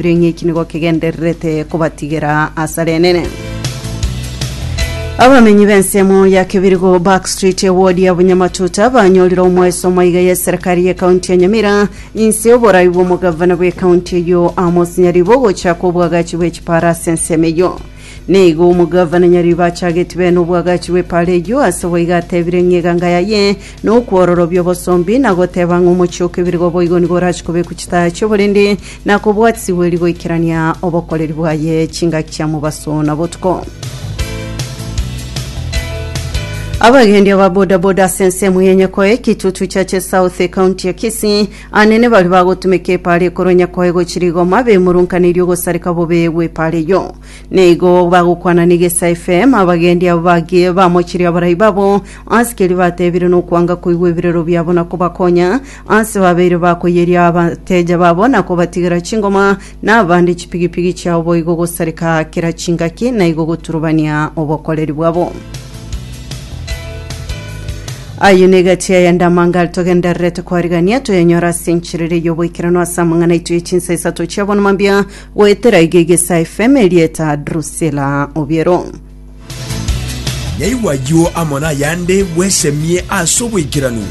batebire ng'a eki nigo kegendererete kobatigera asara enene. Abamenyi b'ensemo ya Kebirigo Back Street ewodi ya Bunyamatuta banyorire omoeso omaiga y'eserekari y'ekaunti ya Nyamira inse y'oborai bw'omogavana bw'ekaunti eyio Amos Nyaribo gochaka obwagachi bw'echipara ase ensemo eyio. Nigo omogavana Nyaribo achageti bene obwagachi bw'epaara eyio ase boigo atebire ng'a eganga yaye nokwororobia obosombi na goteba ng'a omochie o Kebirigo boigo nigo orache kobekwa chitaya chi'oborindi na kobwatisibwa erio goikerania obokoreri bwaye chingaki chia mobaso na botuko. Abagendia ba bodaboda ase ensemo ya Nyakoe, Kitutu Chache South, ekaunti ya Kisii, anene baria bagotumeka epaara ekorwa Nyakoe gochia Rigoma bemurunkaneirie ogosareka bobe gw'epaara eyio. Nigo bagokwana n'Egesaa FM, abagendi abo bagie bamochirie abarai babo ase keria batebire nokwanga koigwa ebirero biabo na kobakonya ase babeire bakoyeria abateja babo na kobatigera chingoma na abande chipigipigi chiabo boigo gosareka kera chingaki na igo goturubania obokoreri bwabo. Ayio negati ayande amange aria togendererete kwarigania toyanyore ase enchera eria y'oboikeranu ase amang'ana aito ye chinsa isato chia bono mambia goetera iga Egesaa FM erieta Drusilla Obiero. Naigwe ayio amo nayande bwesemie ase oboikeranu.